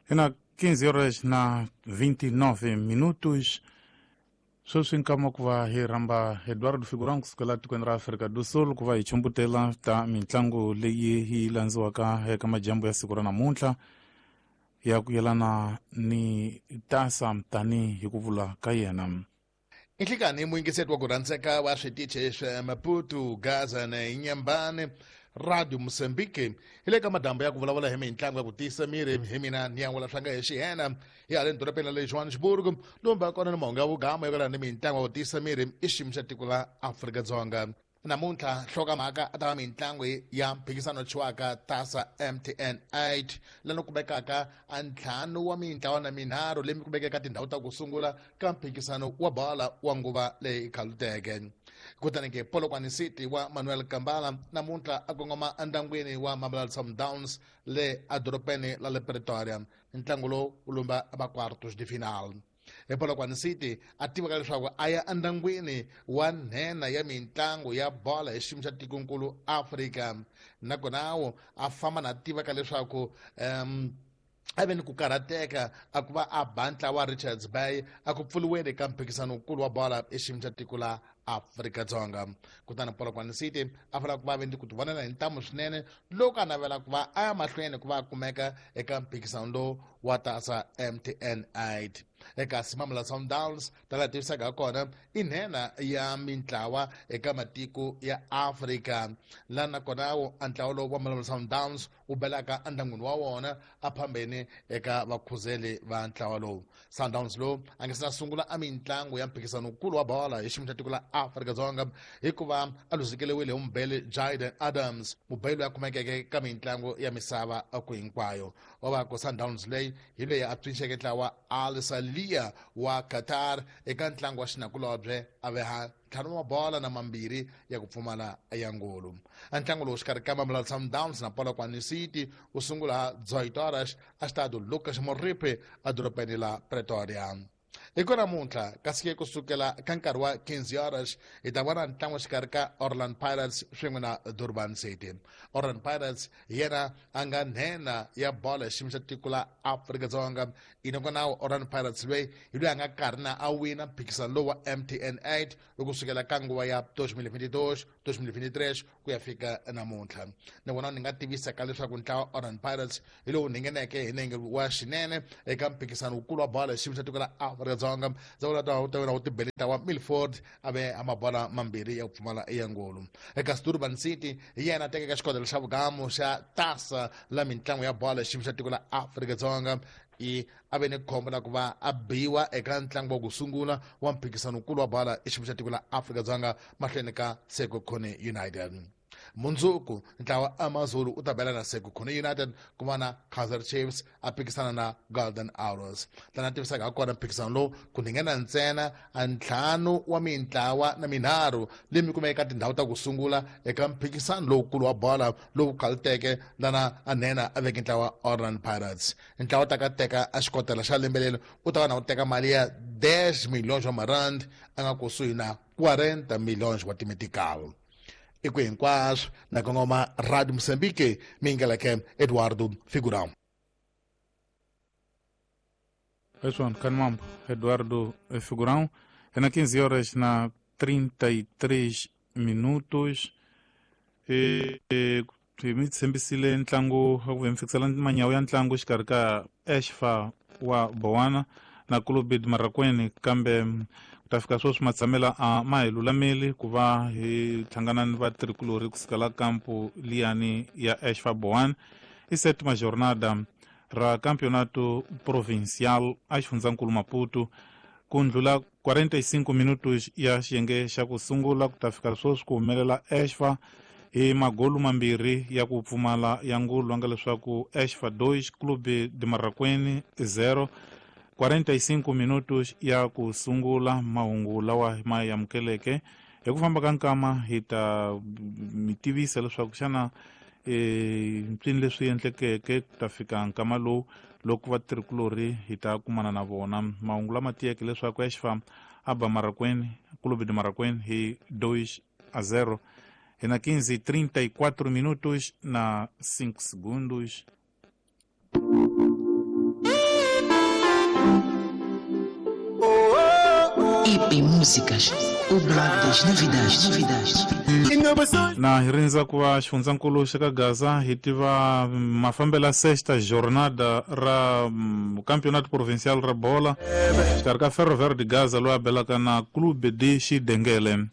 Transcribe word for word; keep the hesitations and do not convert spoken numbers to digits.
Ina quinze horas na vinte e nove minutos. Sweswi nkama ku va hi rhamba Eduardo Figurão kusukela tikweni ra Afrika do Sul ku va hi chumbutela ta mitlangu leyi yi landziwaka eka majambu ya siku ra namuntlha ya ku yelana ni tasa tani hi ku vula ka yena. Nhlikani muyingiseti wa ku rhandzeka wa switichi swa Maputo, Gaza na Inhambane, Radio Mozambique. Hi le ka madambu ya ku vulavula hi mitlangu ya ku tiyisa miri hi mina ni yan'wela swanga hi xihena hi haleni dorobeni ra le Johannesburg, lomu kona ni mahungu ya vugama yo ni mitlangu ya ku tiyisa miri i xiyimo xa tiko la Afrika-Dzonga. Namuntlha nhlokomhaka a ta va mitlangu ya mphikizano thyiwaka Tasa M T N eight lano kumekaka a ntlhanu wa mintlawa na minharhu leyi kumekaka tindhawu ta ku sungula ka mphikizano wa bola wa nguva leyi khaluteke. Kutani ke Polokwane City wa Manuel Kambala namuntlha a kongoma endyangwini wa Mamelodi Sundowns le edorobeni la le Pretoria. Ntlangu lowu wu lumba va quartos de final. Hi Polokwane City a tivaka leswaku a ya endyangwini wa nhenha ya mitlangu ya bola hi xiyimo xa tikonkulu Afrika, nakona wo a famba na tivaka leswaku um a ve ni ku karhateka a ku va a ba ntlawa wa Richards Bay a ku pfuriweni ka mphikizano wukulu wa bola hi xiyimo xa tiko la Afrika-Dzonga. Kutani Polokwane City a fanele ku va ve ni ku tivonela hi ntamu swinene loko a navela ku va a ya mahlweni ku va a kumeka eka mphikizano lowu wa Tasa M T N eight. Eka Mamelodi Sundowns ta la tivisaka ha kona i nhenha ya mintlawa eka matiko ya Afrika, laha nakona wo a ntlawa lowu wa Mamelodi Sundowns wu belaka endyangwini wa wona a phambeni eka vakhuzeli va ntlawa lowu. Sundowns lowu a nga se na sungula a mitlangu ya mphikizano wukulu wa bola hi xiyimo xa tiko la Afrika-Dzonga hikuva a luzekeriwile hi mubeli Jayden Adams, mubeli loyi a kumekeke ka mitlangu ya misava ku hinkwayo. Wa va ku Sundowns leyi hi leyi a pfinxeke ntlawa Al Salia wa Qatar eka ntlangu wa xinakulobye a veha ntlhanu wa bola na mambirhi ya ku pfumala ya ngolo. A ntlangu lowu xikarhi ka Mamelodi Sundowns na Polokwane City wu sungula dezoito horas a Estádio Lucas Moripe edorobeni la Pretoria. Hi ku namuntlha kasi ke kusukela ka nkarhi wa quinze horas hi ta vona ntlangu xikarhi ka Orlando Pirates swin'we na Durban City. Orlando Pirates hi yena a nga nhenha ya bola hi xiyimo xa tiko la Afrika-Dzonga. Inakona Orlando Pirates loyi hi loyi a nga karhi na a wina mphikizano lowu wa M T N eight loko kusukela ka nguva ya dois mil e vinte e dois, dois mil e vinte e três ku ya fika namuntlha. Nakona ni nga tivisaka leswaku ntlawa Orlando Pirates hi lowu ngheneke hi nenge wa xinene eka mphikizano wukulu wa bola hi xiyimo xa tiko la Afrika-Dzonga. Ndzi ta ta wena wu tibele ntlawa Milford a ve a mabola mambirhi ya ku pfumala ya ngolo. Eka Durban City hi yena a tekeke xikodelo xa vugamu xa Tasa la mitlangu ya bola hi xiyimo xa tiko la Afrika-Dzonga. I a ve ni khombo la ku va a biwa eka ntlangu wa ku sungula wa mphikizano wukulu wa bola hi xiyimo xa tiko la Afrika-Dzonga mahlweni ka Sekhukhune United. Mundzuku ntlawa AmaZulu u ta bela na Sekhukhune United ku va na Kaizer Chiefs a phikisana na Golden Arrows. Tana tivisaka ha kona mphikizano lowu ku nghena ntsena a ntlhanu wa mintlawa na minharhu leyi mi kumeka tindhawu ta ku sungula eka mphikizano lowukulu wa bola lowu khaluteke lana a nhenha a veke ntlawa Orlando Pirates. Ntlawa ta ka teka a xikotela xa lembe leri u ta va na ku teka mali ya dez milhões wa marand a nga kusuhi na quarenta milhões wa timetical. I ku hinkwaswo na kongoma Radio Mozambique mingeleke Eduardo Figurão. Pessoal, Canmambo, Eduardo Figurão. É na quinze horas na trinta e três minutos. E, e mi tshembisile ntlangu wa ku mi fikisela manyawu ya ntlangu xikarhi ka Ashfa wa Bowana na Clube de Marraquene, kambe ku ta fika sweswi matshamela a ma hi lulameli ku va hi hlangana ni vatirhikulorhi kusuka la kampu liyani ya Ashfa Bowana. I sétima jornada ra Campeonato Provincial a xifundzankulu Maputo ku ndlula quarenta e cinco minutos ya xiyenge xa ku sungula ku ta fika sweswi ku humelela Ashfa hi magolu mambirhi ya ku pfumala ya ngulu nga leswaku Ashfa dois Clube de Marraquene zero. quarenta e cinco minutos ya ku sungula mahungu lawa ma amukeleke. Hi ku famba ka nkama hi ta mi tivisa leswaku xana eh mpfini leswi endlekeke ku ta fika nkama lowu loko vatirhikulorhi hi ta kumana na vona. Mahungu lama tiyeke leswaku Ashfa a ba Marraquene, Clube de Marraquene hi dois a zero. E na quinze e trinta e quatro minutos na cinco segundos. I P Músicas, o blog das novidades, novidades. Na hi rindza ku va xifundzankulu xa ka Gaza hi tiva mafambelo ya sexta jornada ra mm, campeonato provincial ra bola xikarhi ka Ferro Verde Gaza loyi a belaka na Clube de Xidengele.